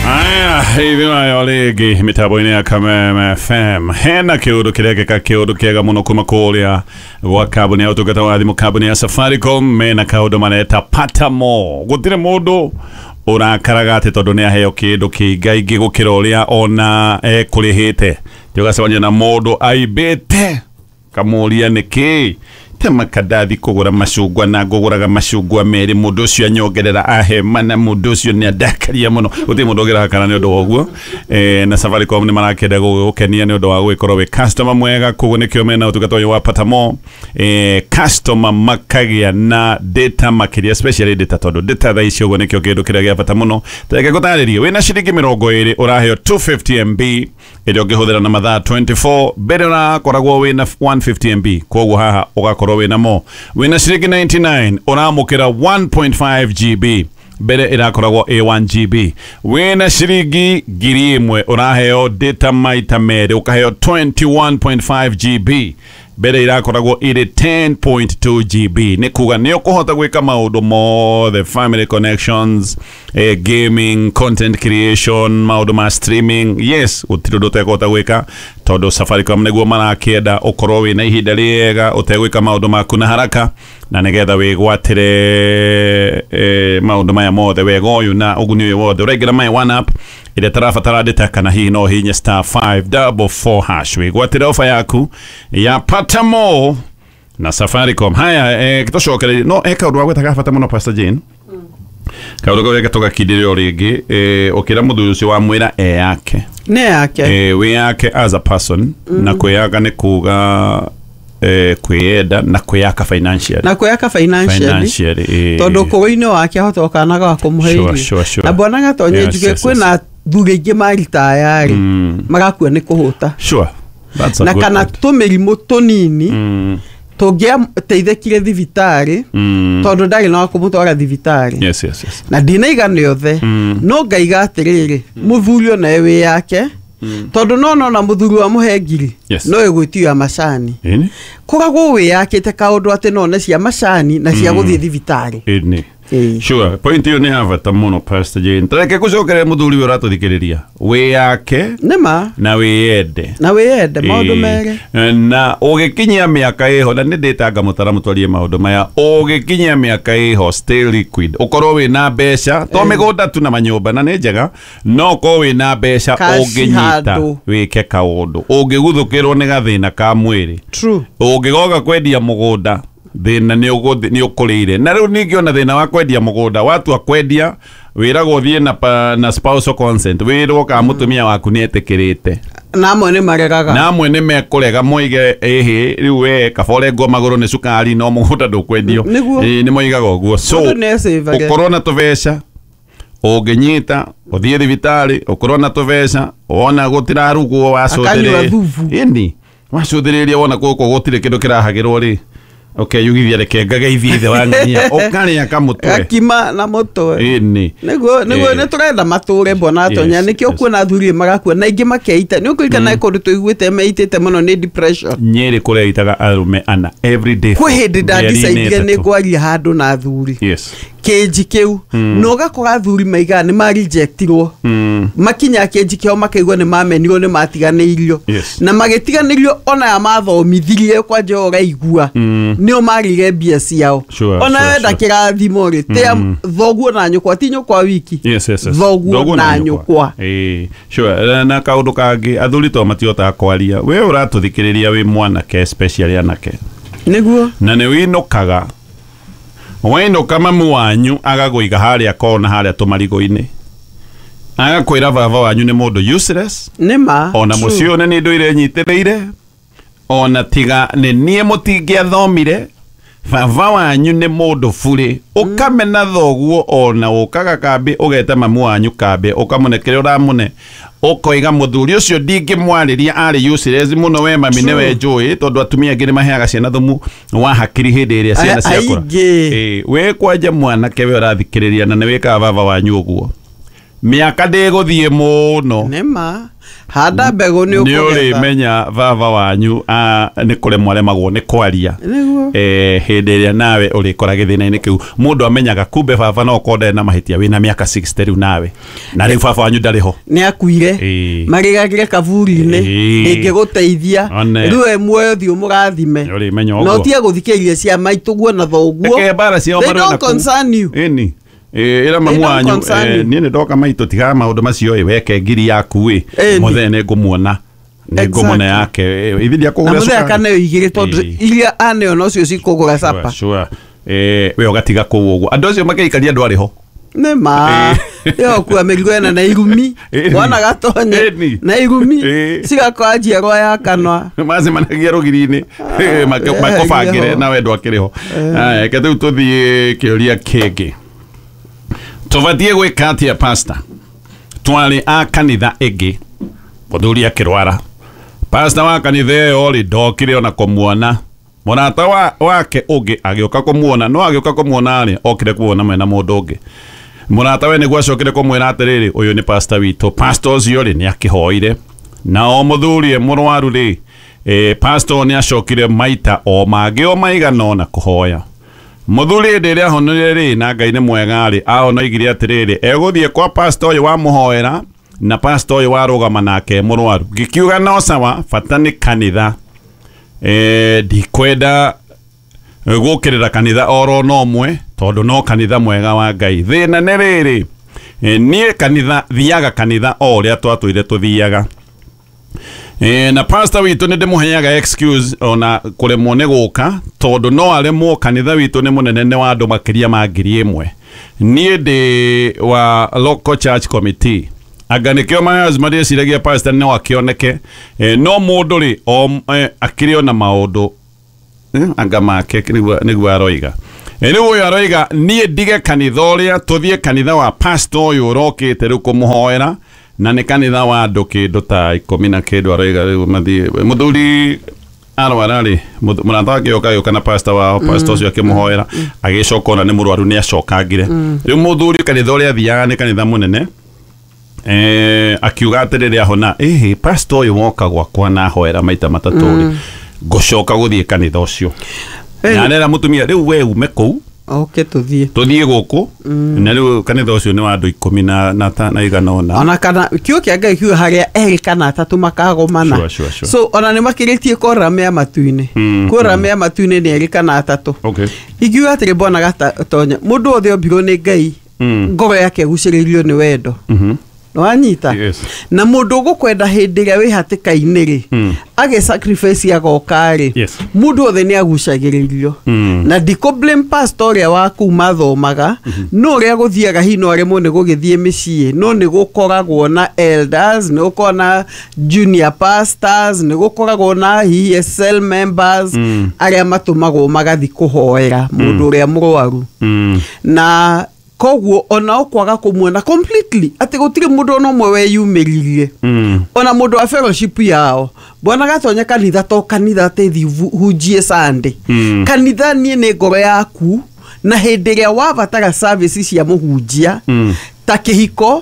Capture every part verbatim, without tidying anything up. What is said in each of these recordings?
Aya, ithuĩ rĩngĩ mĩtambo-inĩ ya Kameme F M. Hena kĩũndũ kĩrekĩka kĩũndũ kĩega mũno kuma kũrĩa gwa kambuni ya ũtungata wa thimũ, kambuni ya Safaricom. Mena kaũndũ mareta Pata More. Gũtirĩ mũndũ ũrakaraga atĩ tondũ nĩ aheo kĩndũ kĩingaingĩ gũkĩra ũrĩa ona ekũrĩhĩte. Tũgacemania na mũndũ aimbĩte kamũria nĩkĩ tema kandathi kũgũra macungwa na ngũgũraga macungwa merĩ, mũndũ ũcio anyongerera ahe mana, mũndũ ũcio nĩ andakaria mũno. Gũtirĩ mũndũ ũngĩrakara nĩ ũndũ wa ũguo. Eh, na Safaricom nĩ marakĩenda gũgũkenia nĩ ũndũ wa gũgĩkorwo wĩ customer mwega, koguo nĩkĩo mena ũtungata ũyũ wa Pata More. Eh, customer makagĩa na data makĩria, especially data, tondũ data thaa ici ũguo nĩkĩo kĩndũ kĩrĩa gĩa bata mũno. Reke ngũtarĩrie, wĩna ciringi mĩrongo ĩrĩ ũraheo two fifty M B ĩrĩa ũngĩhũthĩra na mathaa twenty four. Mbere ũrakoragwo wĩna one fifty M B, koguo haha ũgakorwo wĩna mo. Wĩna ciringi ninety nine ũramũkĩra one point five G B, mbere ĩrakoragwo A one G B. Wĩna ciringi ngiri ĩmwe ũraheo data maita merĩ, ũkaheo twenty one point five G B, mbere irakoragwo ĩrĩ ten point two G B. Nĩ kuga nĩ ũkũhota gwĩka maũndũ mothe, family connections, eh, gaming, content creation, maũndũ ma streaming. Yes, gũtirĩ ũndũ ũtekũhota gwĩka tondũ Safaricom nĩguo marakĩenda ũkorwo wĩna ihinda rĩega ũtegwĩka maũndũ maku na haraka, na nĩgetha wĩgwatĩre, eh, maũndũ maya mothe, wega ũyũ na ũguni ũyũ wothe. Ũraingĩra My One App ĩrĩa tarabatara data, kana hihi no hihinye star five double four hash wĩgwatĩre ofa yaku ya Pata More na Safaricom. Haya, eh, tũcokererie no eka ũndũ wa gwĩta bata mũno Pastor Jane. Kaũndũ kau reke tũgakindĩre o rĩngĩ, eh, ũkĩra mũthuri ũcio wamwĩra e yake. Nĩ yake. Eh, wĩ yake as a person, mm. na kwĩyaka nĩ kuga, eh, kwĩyenda na kwĩyaka financially. Na kwĩyaka financially. Financially, eh. Tondũ kũgũ-inĩ wake ahota gũkana ga kũmũhe Sure, irio. sure, sure. Na bwana Gatonye Yes, njuge yes, kwĩna yes. thuri aingĩ maritayarĩ, Mm. magakua nĩ kũhũta. Sure. That's a Na good kana point. tũmĩrimũ tũnini Mm. tũngĩateithĩkire thibitarĩ, Mm. tondũ ndarĩ na wa kũmũtwara thibitarĩ. Yes, yes, yes. Na ndinaigana othe, Mm. no ngaiga atĩrĩrĩ, mũthuri onawe wĩ yake, tondũ no nona mũthuri wa mũhe ngiri, Yes. no ĩgwĩtio ya macani. Ĩni? Koragwo wĩyakĩte kaũndũ atĩ no one cia macani na cia gũthiĩ thibitarĩ. Ĩni. Ĩĩ. Sure, point ĩyo nĩ ya bata mũno Pastor Jane. Tareke gũcokeria mũthuri ũyũ ũratũthikĩrĩria. Wĩyake Nĩma. na wĩyende. Na wĩyende maũndũ Ĩĩ. merĩ. Na ũgĩkinyia mĩaka ĩho, na nĩ ndĩtanga mũtara mũtwarie maũndũ maya, ũgĩkinyia mĩaka ĩho stay liquid, ũkorwo wĩna mbeca, to mĩgũnda tu na manyũmba na nĩ njega, no ũkorwo wĩna mbeca Cash ũngĩnyita handũ. wĩke kaũndũ, ũngĩguthũkĩrwo nĩ gathĩna ka mwĩrĩ, True. ũngĩgoka kwendia mũgũnda thĩna nĩ ũgũthi-, nĩ ũkũrĩire. Na rĩu ningĩ ona thĩna wa kwendia mũgũnda, watua kwendia wĩragwo ũthiĩ na pa-, na spousal consent, wĩrwo kana mũtumia waku nĩ etĩkĩrĩte. Na amwe nĩ maregaga. Na amwe nĩ mekũrega moige ĩhĩ rĩu we kaba ũrengwo magũrũ nĩ cukari no mũgũnda ndũkwendio. Nĩguo. Ĩĩ, nĩ moigaga ũguo. So, Mũndũ nĩ ecĩvage. ũkorwo na tũbeca ũngĩnyita ũthiĩ thibitarĩ, ũkorwo na tũbeca wona gũtirarugwo wacũthĩrĩria. Akanyua thubu. Ĩni, wacũthĩrĩria wona gũkũ gũtirĩ kĩndũ kĩrahagĩrwo rĩ, ũkeyugithia reke ngageithie ithe wa ng'ania, ũkarĩa kamũtwe. Gakima na mũtwe. Ĩni. Nĩguo, nĩguo Ĩĩ. nĩ tũrenda matũre bwana Atonya, Yes, nĩkĩo yes. kuona athuri magakua na aingĩ makeita. Nĩ ũkũririkana kũndũ tũiguĩte meitĩte mũno nĩ depression. Nyĩrĩ kũreitaga arũme ana every day. Kwĩ hĩndĩ Mĩeri-inĩ ndandicaidire nĩ ĩtatũ. ngwaria handũ na athuri. Yes. Kĩnji kĩu. Mm. Na ũgakora athuri maigaga nĩ marejectirwo. Mm. Makinya kĩnji kĩao makaigua nĩ mamenirwo, nĩ matiganĩirio. Yes. Na magĩtiganĩrio ona aya mathomithirie kwanja ũraigua. Mm. Nĩo marĩire mbia ciao. Sure, Ona sure, wenda sure. kĩrathimo rĩ, tĩa Mm. thoguo na nyũkwa, ti nyũkwa wiki. Yes, yes, yes. Thoguo Thoguo na na nyũkwa. nyũkwa. Ĩĩ, sure. Na, na kaũndũ kangĩ, athuri to matihotaga kwaria. We ũratũthikĩrĩria wĩ mwanake, especially anake. Nĩguo. Na nĩ wĩinũkaga. Wainũka mamu wanyu agagũiga harĩa kona harĩa tũmarigũ-inĩ. Agakwĩra baba wanyu nĩ mũndũ useless. Nĩ ma. Ona True. mũciĩ ũyũ nĩ niĩ ndũire nyitĩrĩire. Ona tiga nĩ niĩ mũtingĩathomire. Baba wanyu nĩ mũndũ burĩ. Ũkamena thoguo ona ũkaga kambĩ, ũgeta mamu wanyu kambĩ, ũkamũne kĩrĩa ũramũne. Ũkoiga mũthuri ũcio ndingĩmwarĩria arĩ useless mũno, we mami nĩwe njũĩ, tondũ atumia angĩ nĩ maheaga ciana thumu wa hakiri hĩndĩ ĩrĩa ciana Ai- ciakũra. aingĩ. Ĩĩ, wĩ kwanja mwanake we ũrathikĩrĩria na nĩ wĩkaga baba wanyu ũguo. Mĩaka ndĩgũthiĩ mũno. Nĩma handa mbegũ nĩ Nĩ ũkũgetha. ũrĩmenya baba wanyu ah, nĩ kũremwo aremagwo nĩ kwaria. Nĩguo. Eh, hĩndĩ ĩrĩa nawe ũrĩkora gĩthĩna-inĩ kĩu mũndũ amenyaga kumbe baba no okorwo ndarĩ na mahĩtia wĩna mĩaka sixty rĩu nawe na rĩu baba wanyu ndarĩ ho. Nĩ akuire. Ĩĩ. Marĩgagire kaburi-inĩ. Ĩĩ. Ĩngĩgũteithia. One. Rĩu e muoyo thiĩ ũmũrathime. Nĩ ũrĩmenya Na ũguo. ũtige gũthikĩrĩria cia maitũguo na thoguo. Reke mbara ciao They marũe don't na kũu. concern you. Ĩni. Ĩ, ĩra mamu They don't wanyu concern eh, you. niĩ nĩ ndoka maitũ tigaga maũndũ macio ĩ weke ngiri yaku ĩ Ĩni. mũthee nĩ ngũmuona nĩ ngũmũne Exactly. yake ĩ, ithi Na ndiakũgũra mũthee cukari. akaneo igĩrĩ tondũ Ĩĩ. iria aneo nocio cikũgũra capa. Sure, sure. Eh, we ũgatiga kũu ũguo andũ acio makĩikaria andũ arĩ ho. Nĩ ma ĩyo kua mĩrigo ĩna na irumi. Ĩni. Mwana gatonye Ĩni. na irumi Ĩĩ. cigakora njiarwa ya kanwa. Macemanagia rũgiri-inĩ eh, makũbangĩre ho. nawe ndwakĩrĩ ho. Aya, reke rĩu tũthiĩ kĩũria kĩngĩ. Tũbatiĩ gwĩka atĩa pastor? Twarĩ a kanitha ĩngĩ mũthuri akĩrwara. Pastor wa kanitha ĩyo rĩ ndokire ona kũmuona. Mũrata wa, wake ũngĩ agĩũka kũmuona no agĩũka kũmuona rĩ okire kuona mwena mũndũ ũngĩ. Mũrata we nĩguo acokire kũmwĩra atĩrĩrĩ ũyũ nĩ pastor witũ. Pastor ũcio rĩ nĩ akĩhoire na o mũthuri e mũrwaru rĩ eh, pastor nĩ acokire maita o mangĩ o maigana ona kũhoya. Mũthuri hĩndĩ ĩrĩa ahonire rĩ na Ngai nĩ mwega rĩ ahonoigire atĩrĩrĩ egũthiĩ kwa pastor ũyũ wamũhoera na pastor ũyũ warũgama nake mũrwaru. Ngĩkiuga no sawa bata nĩ kanitha. Eh, ndikwenda gũkĩrĩra kanitha oro no ũmwe tondũ no kanitha mwega wa Ngai. Thĩna nĩ rĩrĩ eh, niĩ kanitha thiaga kanitha o ũrĩa twatũire tũthiaga. E, na pastor witũ nĩ ndĩmũheaga excuse ona kũremwo nĩ gũka tondũ no aremwo kanitha witũ nĩ mũnene nĩ wa andũ makĩria ma ngiri ĩmwe. Niĩ ndĩ wa local church committee anga nĩkĩo mayas marĩciragia pastor no akĩoneke e, no mũndũ rĩ o e, akĩrĩ ona maũndũ eh, anga make nĩguo nĩguo aroiga. E, rĩu ũyũ aroiga niĩ ndige kanitha ũrĩa tũthiĩ kanitha wa pastor ũyũ ũrokĩte rĩu kũmũhoera na nĩ kanitha wa andũ kĩndũ ta ikũmi na kĩndũ aroiga rĩu mathiĩ mũthuri arwara rĩ mũrata wake oka gĩũka na pastor wao pastor ũcio akĩmũhoera agĩcoka ona nĩ mũrwaru nĩ acokangire rĩu mũthuri kanitha ũrĩa athiaga nĩ kanitha mũnene eh, akiuga atĩrĩrĩ ahona ĩhĩ pastor ũyũ woka gwakwa na ahoera maita matatũ rĩ ngũcoka gũthiĩ kanitha ũcio na arera mũtumia rĩu we ume kũu Oke tũthiĩ tũthiĩ gũkũ na rĩu kanitha ũcio nĩ wa andũ ikũmi na na ta- na igana ũna. Ona kana kiugo kĩa Ngai kiuga harĩa erĩ kana atatũ makagomana. Sure, sure, sure. So ona nĩ makĩrĩtie kũrora mea matu-inĩ. Mm, Kũrora mea matu-inĩ nĩ erĩ kana atatũ. Okay. Ingiuga atĩrĩ bwana Gatonya mũndũ wothe ombirwo nĩ Ngai Mm. ngoro yake ĩgucĩrĩirio nĩ wendo. Mhm. Nĩwanyita? Yes. Na mũndũ ũgũkwenda hĩndĩ ĩrĩa wĩ hatĩka-inĩ rĩ Mm. age sacrifice agoka rĩ Yes. mũndũ wothe nĩ agucagĩrĩrio. Mm. Na ndikũ blame pastor ũrĩa wa kũu mathomaga no ũrĩa gũthiaga hihi no aremwo nĩ gũgĩthiĩ mĩciĩ no nĩ gũkoragwo na elders nĩ gũkoragwo na junior pastors nĩ gũkoragwo na hihi cell members Mm. arĩa matũmagwo magathiĩ kũhoera mũndũ ũrĩa mũrwaru. Mm. Na koguo ona ũkwaga kũmuona completely atĩ gũtirĩ mũndũ ona ũmwe weyumĩririe. Mm. Ona mũndũ wa fellowship yao bwana Gatonya kanitha to kanitha atĩ thiĩ hunjie Sunday. Mm. Kanitha niĩ nĩ ngoro yaku na hĩndĩ ĩrĩa wabatara service cia mũhunjia Mm. ta kĩhiko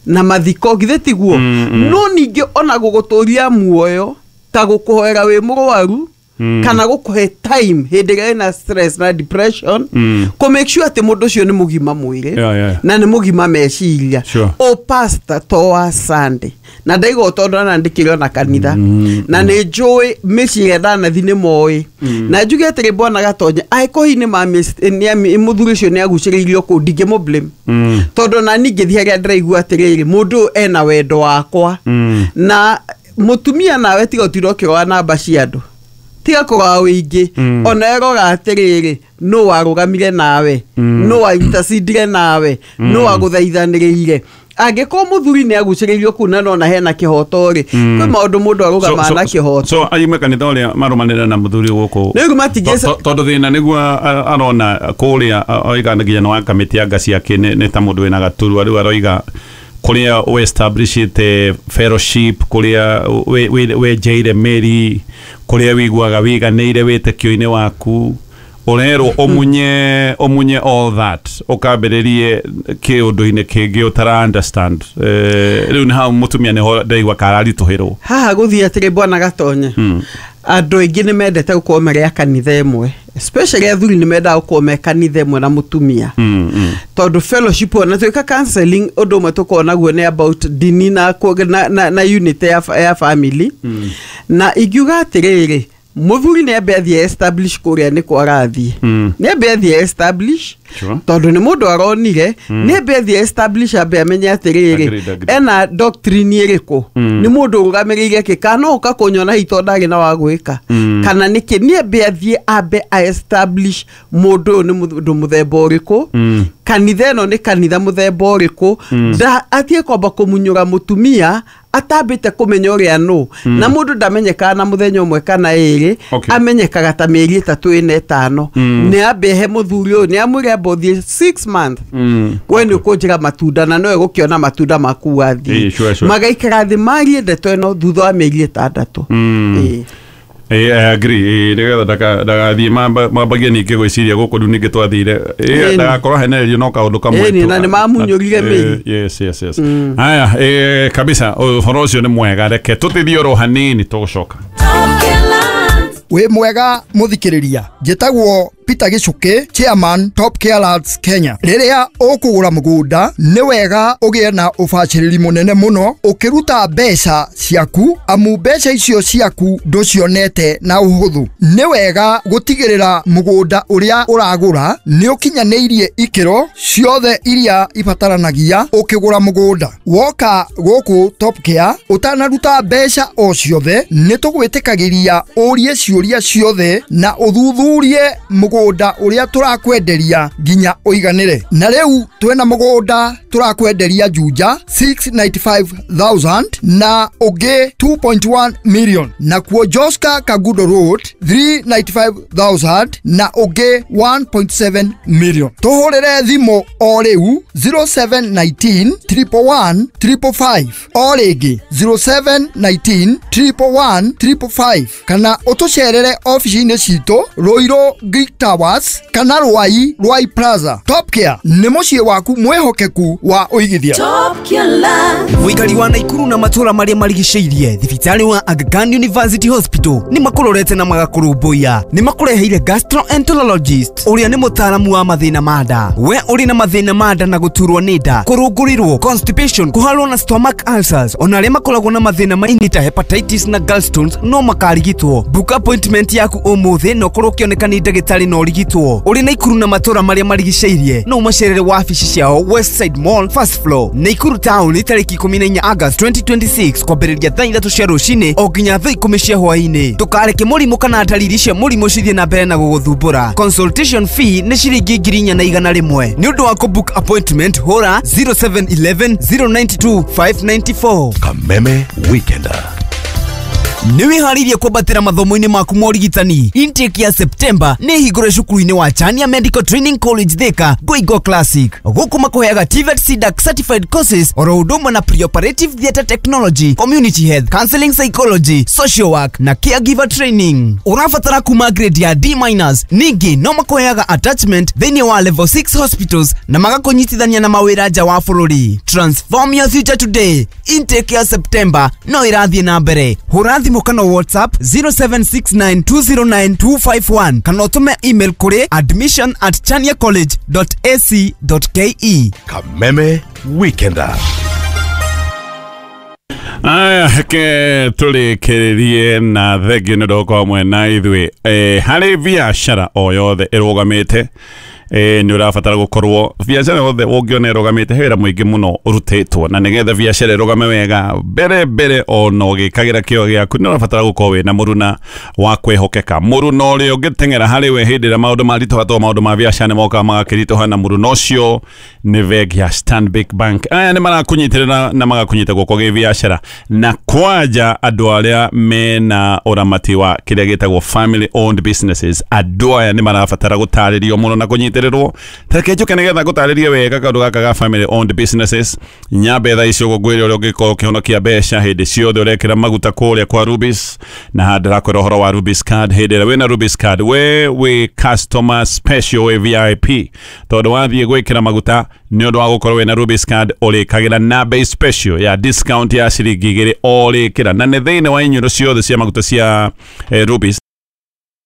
na mathiko githĩ tiguo. Mm, mm. No ningĩ ona gũgũtũria muoyo ta gũkũhoera wĩ mũrwaru Mm. kana gũkũhe time hĩndĩ ĩrĩa wĩna stress na depression Mm. kũ make sure atĩ mũndũ ũcio nĩ mũgima mwĩrĩ Yeah, yeah. na nĩ mũgima meciria. Sure. O pastor to wa Sunday na ndaigua tondũ anandĩkĩre ona kanitha Mm, na nĩ njũĩ mĩciĩ ĩrĩa ndanathi nĩ moĩ na njuge atĩrĩ bwana Gatonya angĩkorwo hihi nĩ ma mũthuri ũcio nĩ agucĩrĩirio kũu ndingĩmũ blame Mm. tondũ na niĩ ngĩthiĩ harĩa ndĩraigua atĩrĩrĩ mũndũ ũyũ ena wendo wakwa Mm. na mũtumia nawe tiga ũtinda ũkĩrora namba cia andũ tiga kũrora wĩingĩ Mm. ona erora atĩrĩrĩ nũ warũgamire nawe Mm. nũ waintacindire nawe nũ wagũthaithanĩrĩire angĩkorwo mũthuri nĩ agucĩrĩirio kũu na nona hena kĩhoto rĩ Mm. kwĩ maũndũ mũndũ arũgamaga na kĩhoto so ayume kanitha ũrĩa marũmanĩrĩra na mũthuri gũkũ Rĩu matingĩ- To- to- tondũ thĩna nĩguo a- arona kũrĩa a- oiga nginya nĩ wa kamĩtĩ ya nga ciake nĩ nĩ ta mũndũ wĩna gaturwa rĩu aroiga kũrĩa we-establishĩte fellowship kũrĩa we- we- wenjeire mĩri kũrĩa wĩiguaga wĩiganĩire wĩtĩkio-inĩ waku Ũrerwo ũmunye ũmunye all that ũkambĩrĩrie kĩũndũ-inĩ kĩngĩ ũtara understand. Eh, rĩu nĩ hau mũtumia nĩho ndaigua kararitũhĩrwo. Haha gũthiĩ atĩrĩ, bwana Gatonye, andũ aingĩ nĩ mendete gũkorwo marĩ a kanitha ĩmwe, especially athuri nĩ mendaga gũkorwo me kanitha ĩmwe na mũtumia, Mm, mm. tondũ fellowship, ona twĩka counseling, ũndũ ũmwe tũkoragwo naguo nĩ about ndini na, kũ- na, na, na unity ya, fa- ya family mm. Na ingiuga atĩrĩrĩ, mũthuri nĩ ambe athiĩ establish kũrĩa nĩkwo arathiĩ, Mm. nĩ ambe athiĩ establish, Sure. tondũ nĩ mũndũ aronire, nĩ ambe athiĩ establish, ambe amenye atĩrĩrĩ, Agreed, agreed. ena doctrine ĩrĩkũ, Mm. nĩ mũndũ ũrũgamĩrĩire kĩ, kana no ũka kũnyona hihi tondũ ndarĩ na wa gwĩka, Mm. kana nĩkĩ. Nĩ ambe athiĩ ambe a establish mũndũ ũyũ nĩ mũndũ mũthemba ũrĩkũ, Mm. kanitha ĩno nĩ kanitha mũthemba ũrĩkũ, nda atige kwamba kũmunyũra mũtumia atambĩte kũmenya ũrĩa nũ. Na mũndũ ndamenyekaga na mũthenya ũmwe kana ĩrĩ, Okay. amenyekaga ta mĩeri ĩtatũ, ĩna, ĩtano. Mm. Nĩ ambe he mũthuri ũyũ, nĩ amwĩre amba ũthiĩ six month, Mm. we nĩ ũkũnjĩra matunda na nowe gũkĩona matunda maku wathiĩ. Ĩĩ, sure, sure. Magaikara thĩ marie ndeto ĩno thutha wa mĩeri ĩtandatũ. Mm. Ĩĩ. Eh, I agree. Eh, nĩgetha ndaka- ndagathiĩ mamba- mambagie ningĩ gwĩciria gũkũ rĩu ningĩ twathire. Eh, Ĩni. ndagakorwo henererio no kaũndũ kamwe Ĩni, tu. na nĩmamunyũrire Eh, mĩri. yes yes yes Haya, eh, kabisa, ũhoro ũcio nĩ mwega. Reke tũtithie oro hanini, tũgũcoka. Wĩ mwega mũthikĩrĩria, njĩtagwo Peter Gĩcũkĩ, chairman, Top Care Lands Kenya. Rĩrĩa ũkũgũra mũgũnda, nĩ wega ũgĩe na ũbacĩrĩri mũnene mũno ũkĩruta mbeca ciaku, amu mbeca icio ciaku ndũcionete na ũhũthũ. Nĩ wega gũtigĩrĩra mũgũnda ũrĩa ũragũra nĩ ũkinyanĩirie ikĩro ciothe iria ibataranagia ũkĩgũra mũgũnda. Woka gũkũ Top Care, ũtanaruta mbeca o ciothe, nĩ tũgwĩtĩkagĩria ũrie ciũria ciothe na ũthuthurie mũgũnda ũrĩa tũrakwenderia nginya ũiganĩre. Na rĩu twĩna mũgũnda tũrakwenderia Juja six hundred ninety-five thousand na ũngĩ two point one million, nakuo Joska Kangundo Road three hundred ninety-five thousand na ũngĩ one point seven million. Tũhũrĩre thimũ o rĩu zero seven one nine triple one triple five, o rĩngĩ zero seven one nine triple one triple five, kana ũtũcerere ofici-inĩ citũ Ruiru Greek Towers kana Ruai Ruai Plaza. Top Care nĩ mũciĩ waku mwĩhokeku wa ũigithia. Mũikari wa Naikuru na matũra marĩa marigicĩirie, thibitarĩ wa Aga Khan University Hospital nĩ makũrorete na magakũrũmbũiya. Nĩ makũreheire gastroenterologist ũrĩa nĩ mũtaaramu wa mathĩna ma nda. We ũrĩ na mathĩna ma nda na gũturwo nĩ nda, kũrũngũrĩrwo, constipation, kũharwo na stomach ulcers, ona arĩa makoragwo na mathĩna ma ini ta hepatitis na gallstones no makarigitwo. Book appointment yaku ũmũthĩ na ũkorwo ũkĩoneka nĩ ndagĩtarĩ na ũrigitwo. Ũrĩ Naikuru na matũra marĩa marigicĩirie, no ũmacerere wabici ciao Westside Mall, first floor, Naikuru town, tarĩki ikũmi na inya August twenty twenty-six, kwambĩrĩria thaa ithatũ cia rũcinĩ o nginya thaa ikũmi cia hwaĩ-inĩ. Ndũkareke mũrimũ kana ndariri cia mũrimũ cithiĩ na mbere na gũgũthumbũra. Consultation fee nĩ ciringi ngiri inya na igana rĩmwe. Nĩ ũndũ wa kũbook appointment, hũra zero seven one one zero nine two five nine four. Kameme Weekender. Nĩ wĩharĩirie kwambatĩra mathomo-inĩ maku ma ũrigitani? Intake ya September nĩ hingũre cukuru-inĩ wa Chania Medical Training College, Thika, Ngoingo Classic. Gũkũ makũheaga TVET C D A C certified courses oro ũndũ ũmwe na preoperative theatre technology, community health, counseling psychology, social work na caregiver training. Ũrabatara kuma grade ya D minus. Ningĩ no makũheaga attachment thĩinĩ wa level six hospitals na magakũnyitithania na mawĩra nja wa bũrũri. Transform your future today. Intake ya September no ĩrathiĩ na mbere. Hũra thimũ kana WhatsApp zero seven six nine two zero nine two five one, kana ũtũme email kũrĩ admission at chaniacollege dot ac dot ke. Kameme Weekender. Aya, reke tũrĩkĩrĩrie na thengio nĩ ũndũ hamwe na ithuĩ. eh, harĩ biacara o yothe ĩrũgamĩte, eh, nĩ ũrabatara gũkorwo biacara yothe ũngĩona ĩrũgamĩte, he wĩra mũingĩ mũno ũrutĩtwo, na nĩgetha biacara ĩrũgame wega, mbere mbere ona ũgĩkagĩra kĩo gĩaku, nĩ ũrabatara gũkorwo wĩna mũruna wa kwĩhokeka, mũruna ũrĩa ũngĩteng'era harĩ we hĩndĩ ĩrĩa maũndũ maritũha, tondũ maũndũ ma biacara nĩ mokaga magakĩritũha, na mũruna ũcio nĩ bengi ya Stanbic Bank. Aya nĩ marakũnyitĩrĩra na magakũnyita guoko gĩ biacara, na kwanja andũ arĩa mena ũramati wa kĩrĩa gĩtagwo family owned businesses. Andũ aya nĩ marabatara gũtarĩrio mũno na kũnyitĩrĩrwo. Ndũgacererwo. Tareke njũke nĩgetha ngũtarĩrie wega kaũndũ gaka ga family owned businesses. Nyambe thaa ici ũguo ngwĩre ũrĩa ũngĩkorwo ũkĩhonokia mbeca hĩndĩ ciothe ũrekĩra maguta kũrĩa kwa Rubis, na haha ndĩrakwĩra ũhoro wa Rubis card. Hĩndĩ ĩrĩa wĩna Rubis card, we wĩ customer special, wĩ V I P, tondũ wathiĩ gwĩkĩra maguta nĩ ũndũ wa gũkorwo wĩna Rubis card, ũrĩkagĩra na bei special ya discount ya ciringi igĩrĩ o rĩkĩra, na nĩ thĩinĩ wa inyuĩro ciothe cia maguta cia eh, Rubis.